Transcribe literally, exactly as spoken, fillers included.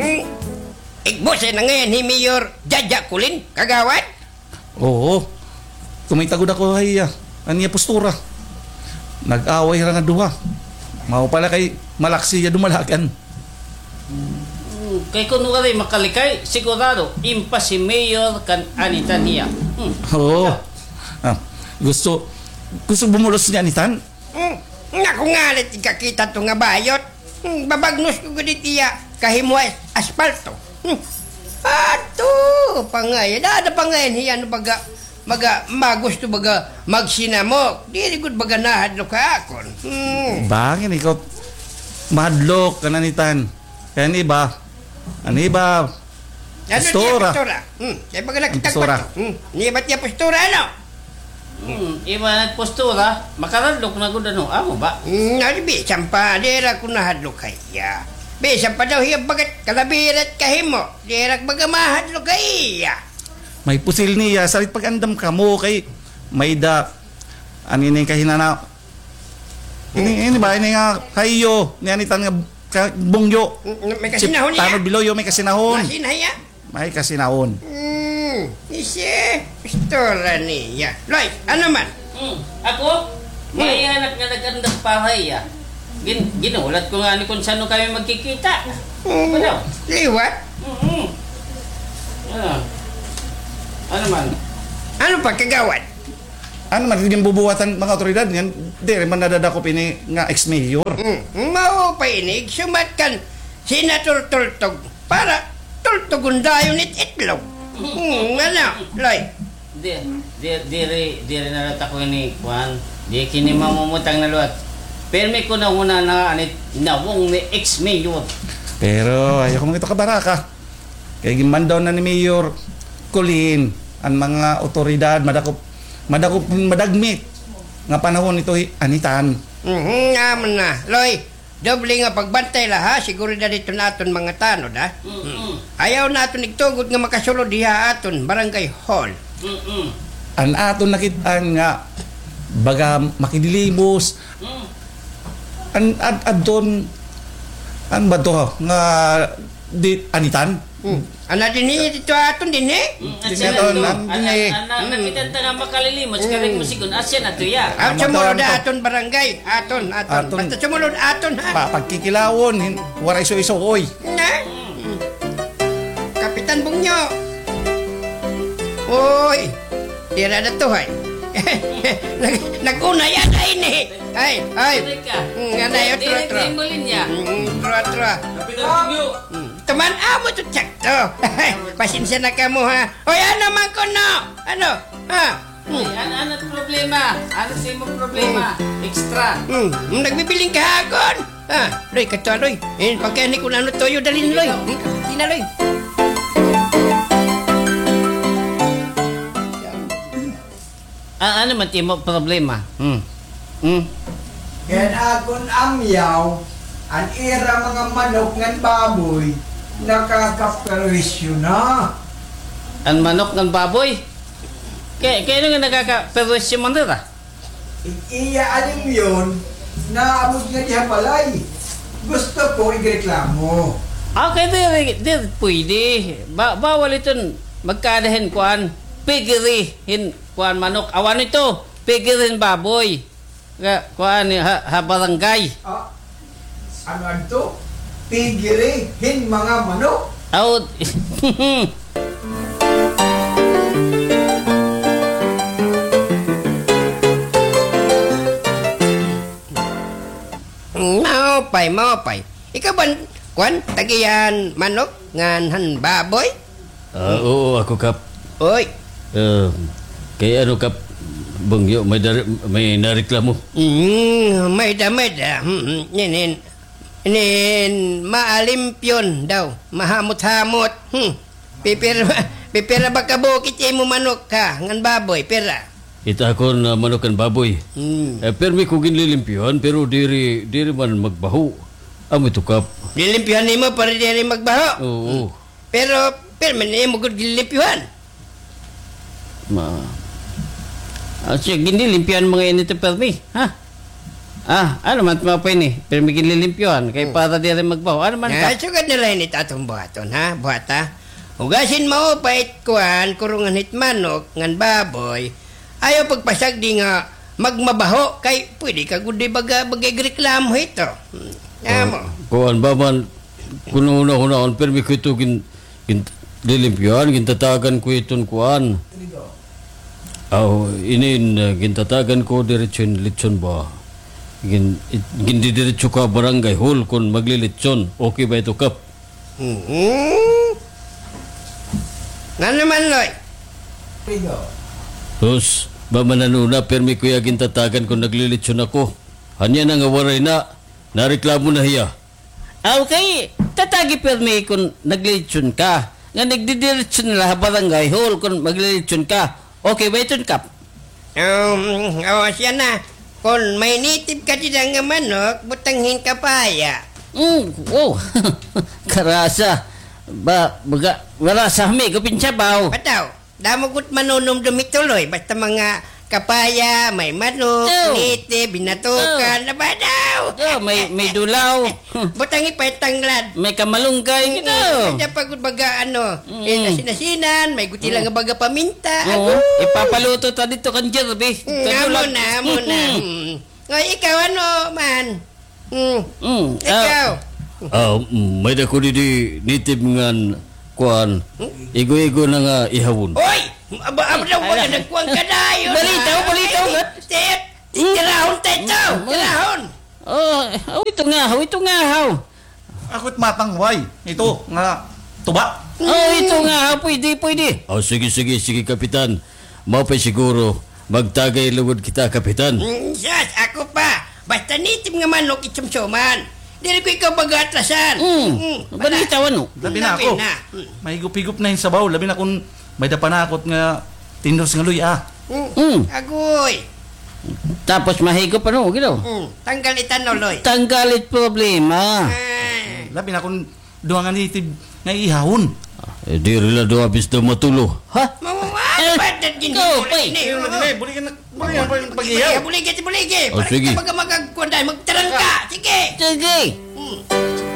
Hmm. Igbus na ngay-an hi Mayor Jaja Kulin, kagawad? Oo. Kumita gud ako ha iya. An iya postura. Nag-away hira nga duha. Mao pala kay malaksi hiya dumalagan. Hmm, kay kun waray makalikay, sigurado, impas hi Mayor kan Anitan hiya. Hmm. Oo. Ah, gusto, gusto bumulos ni Anitan? Hmm, naku, ngalit ikakita to nga bayot. Hmm, babagnos ko gud it iya kahimo as-, aspalto. Hmm. Ato, pangay. Dada pangay hiya no baga, baga, magusto baga magsinamok. Diri gud baga nahadlok ha akon. Hmm. Bangin ikaw mahadlok kan Anitan. Kay an iba, an iba, ano niya postura. Postura? Hmm, kay baga nakita ko postura. Hmm, niya ba't niya postura, ano? Hmm, iba nagpostura, makahadlok na gud, ano, amo ba? Hmm, ano, bisan pa, dira ko nahadlok ha iya. Bisan pa daw hiya bagat kalabirat kahimo, dira baga mahadlok ha iya. May pusil niya, sarit pag-andam kamo, kay may da, an ini kahinana, ini, ini ba, ini nga kayo, ni Anitan nga ka-, bungyo. Mm, may kasinahon niya. Tanod Biloyo, may kasinahon. Masin haya? May kasinahon. Hmm, isi, istorya niya. Loy, ano man? Hmm, ako? Hmm. May anak nga nag-andam pa ha iya. Gin-, ginulat ko ngani kun san-o kami magkikita. Hmm, ano? Liwat? Mm-mm. Ah. Ano man? Ano pa, kagawad? Ano man, ginbubuhatan mga awtoridad ngan, diri man nadadakop ini nga ex-mayor. Hmm, mao pa ini, igsumat kan Senator Tultog, para tultugon dayon it itlog. Hmm, ano, Loy? Di, di, diri, diri na la ta ko ini, kuan, di kini mamumutang na liwat. Pirmi ko na huna na anit nawong ni ex-mayor. Pero ayaw ko man ito kabaraka. Kay ginmandaw na ni Mayor Colin an mga awtoridad, madakop, madakop, madagmit nga panahon ito hi Anitan. Mhm, amo na. Loy, doble nga pagbantay la, ha, seguridad iton aton mga tanod, ha. Mm-mm. Ayaw naton igtugot nga makasulod hiya aton barangay hall. Mm-mm. An aton nakit-an nga baga makidilimos. Mm. An ad-, adton, an ba to, nga di Anitan? Hmm. Ana dinhi, dito aton dinhi? Hmm, dinhi asya aton, na to. An, an, dinhi. An, an, nakita ta nga makalilimos, hmm, kay mo sigon, asya na to, ya. Ah, sumulod aton barangay, aton, aton. Aton. Basta sumulod aton, ha? Pa-, pagkikilawon, hin-, waray iso-iso, oy. Na? Hmm. Kapitan Bungyo. Oy. Dira na to, hay. Nag-, nag-una yan, ay, ni. Ay, ay. Ano ka? Mm, anay, otro, otro. Diri, diri mo linya. Mm, otro, otro. Kapitan Bungyo. Mm. Tuman, amo to, tsakto. Pasensya na kamo, ha. Oy, ano man kuno? Ano? Ha? Mm. Ay, ano, ano problema? Ano sa imo problema? Mm. Extra. Mm. Mm, nagbibiling ka ha akon? Ah, Loy, kato, Loy. Eh, pagkani kun ano toyo, dalin, Loy. Hmm? Tina, Loy. Ah, ano man timo problema? Hmm. Hmm. Kay an akon amyaw, an ira mga manok ngan baboy, nakakaperwisyo na. An manok ngan baboy? Kay, kay ano nga nakakaperwisyo man dira? Iya alimpyon, naabot nga diha balay. Gusto ko igreklamo. Okay, diri, diri pwede. Ba-, bawal iton magkaada hin kuan, piggery hin kuan manok. Awan ito, piggery hin baboy. Ka-, kuan, ha, ha barangay. Ah. Ano adto? Piggery hin mga manok? Aw. Maupay, maupay. Ikaw ba, kuan, tag-iya han manok ngan han baboy? Ah, oo, ako, Kap. Oy. Ah, kay ano, Kap, Bungyo, may dari-, may nareklamo? Mm, may da, may da. Mm, mm, inin, inin, maalimpyon daw, mahamot-hamot. Hmm. Pipira, pipira ba ka bukid imo manok ka, ngan baboy, pira? It akon, ah, manok ngan baboy. Hmm. Eh, pirmi ko ginlilimpyuhan, pero diri, diri man magbaho. Amo ito, Kap. Lilimpyuhan nimo para diri magbaho? Oo. Hmm. Pero, pirmi na imo gud ginlimpyuhan. Ma-, ah, sige, ginlimpyuhan mga init, pirmi, ha? Ah, ano man, maupay ini? Pirmi ginlilimpyohan, kay para diri magbaho. Ano man ka? Sugad na la ini it aton buhaton, ha? Buhata. Hugasin maupay it kuan, kurungan hit manok, ngan baboy. Ayaw pagpasagdi nga magmabaho, kay pwede ka gud di baga, baga igreklamo hito. Hmm. Amo. Kuan ba man, kun hunahunaon, pirmi ko ito gin-, ginlilimpyohan, gintatagan ko iton kuan. Aw, inin, uh, gintatagan ko diretso hin litson ba? Gin-, it-, gindidiretso ko ha barangay hall kon maglilitson. Okay ba ito, Kap? Mhm. Ngano man, Loy? Sus, ba man, ano na, pirmi ko hiya gintatagan kon naglilitson ako. Hanya na nga waray na, nareklamo na hiya. Aw, kay tatagi pirmi kon naglilitson ka. Nga nagdidiretso na la ha barangay hall kon maglilitson ka. Okay ba iton, Kap? Um, o, siya na. Kon may native ka dida nga manok, butang hin kapaya. Mm, wow. Karasa. Ba, baga, marasa, hami gud hin sabaw. Bitaw. Damo gud manunumdom hito, Loy. Basta mga kapaya, may manok, native, binatukan, aba daw. May, may dulaw. Butangi pa it tanglad. May kamalunggay, gito. May pa gud baga, ano, eh, asin-asinan, may gud hila nga baga paminta. Oo. Agoy. Ipapaluto ta didto kan Jervis. Mm, amo na, amo na. Mm. O, ikaw, ano man? Hmm. Mm, ah, ikaw. Ah, mm, may-ada ko didi native ngan kuan. Hmm? Igo-igo na nga ihawon. Oy! Aba, aba daw, baga nagkuan ka dayon, ha? Balitaw, balitaw, ha? Tit, tirahon ta ito, tirahon. Oh, oh, ito nga, oh, ito nga, haw. Ako it matangway. Ito nga tuba. Oh, ito nga, haw, pwede, pwede. Oh, sige, sige, sige, Kapitan. Maupay siguro, magtagay lugod kita, Kapitan. Mm, sus, ako pa. Basta native nga manok, it sumsuman. Diri ko ikaw pag-aatrasan. Mm. Mm, balitaw, ano? Labi na ako. Labi na. Mm. Mahigop-higop na hin sabaw. Labi na kon may-ada panakot nga tindos nga luy-a. Mm. Mm. Agoy. Tapos mahigop, ano, gito? Mm. Tanggal it ano, Loy. Tanggal it problema. Ay. Labi na kon duha nga native nga ihawon. Eh, diri la duha bis daw matulo. Ha? Mawawala ba? Dad gin-, go, pay. Dili, dili, buligan na, buligan pa yung pag-ihaw. Buligan, buligan. Oh, sige. Para kita baga magagkuan dahil magtarangka. Sige. Sige. Hmm.